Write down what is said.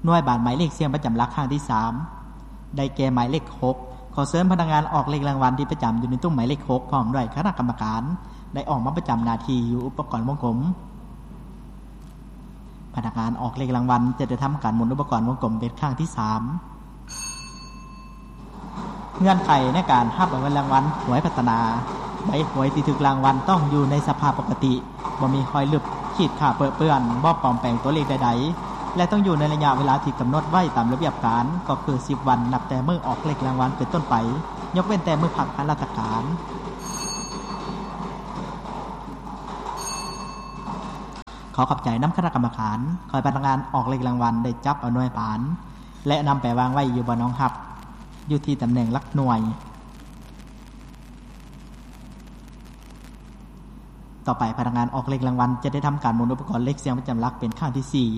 ໜ່ວຍບານໝາຍເລກສ່ຽງປະຈຳຫຼັກຄັ້ງທີສາມ ໄດ້ແກ່ໝາຍເລກຫົກ. ຂໍເຊີນພະນັກງານອອກເລກລາງວັນທີ່ປະຈຳຢູ່ໃນຕຸ້ມໝາຍເລກຫົກ ພ້ອມດ້ວຍຄະນະກຳມະການ ໄດ້ອອກມາປະຈຳໜ້າທີ່ຢູ່ອຸປະກອນວົງກົມ. ພະນັກງານອອກເລກລາງວັນຈະໄດ້ທຳການໝູນອຸປະກອນວົງກົມເປັນຄັ້ງທີສາມ. ເງື່ອນໄຂໃນການຮັບເອົາເງິນລາງວັນຫວຍພັດທະນາ. ໃບຫວຍທີ່ຖືກລາງວັນຕ້ອງຢູ່ໃນສະພາບປົກກະຕິ, ບໍ່ມີຮອຍລຶບ, ຂີດຂາດເປິເປື້ອນ, ບໍ່ປອມແປງຕົວເລກໃດໆ ແລະ ຕ້ອງຢູ່ໃນໄລຍະເວລາທີ່ກຳນົດໄວ້ຕາມລະບຽບການ, ກໍຄືສິບວັນນັບແຕ່ມື້ອອກເລກລາງວັນເປັນຕົ້ນໄປ, ຍົກເວັ້ນແຕ່ມື້ພັກທາງລາຊະການ. ຂໍຂອບໃຈນຳຄະນະກຳມະການ. ຂ້ອຍພະນັກງານອອກເລກລາງວັນໄດ້ຈັບເອົາໜ່ວຍບານ ແລະ ນຳໄປວາງໄວ້ຢູ່ບ່ອນຮອງຮັບ ຢູ່ທີ່ຕຳແໜ່ງຫຼັກໜ່ວຍ. ຕໍ່ໄປພະນັກງານອອກເລກລາງວັນຈະໄດ້ທຳການໝູນອຸປະກອນເລກສ່ຽງປະຈຳຫຼັກເປັນຄັ້ງທີສີ່.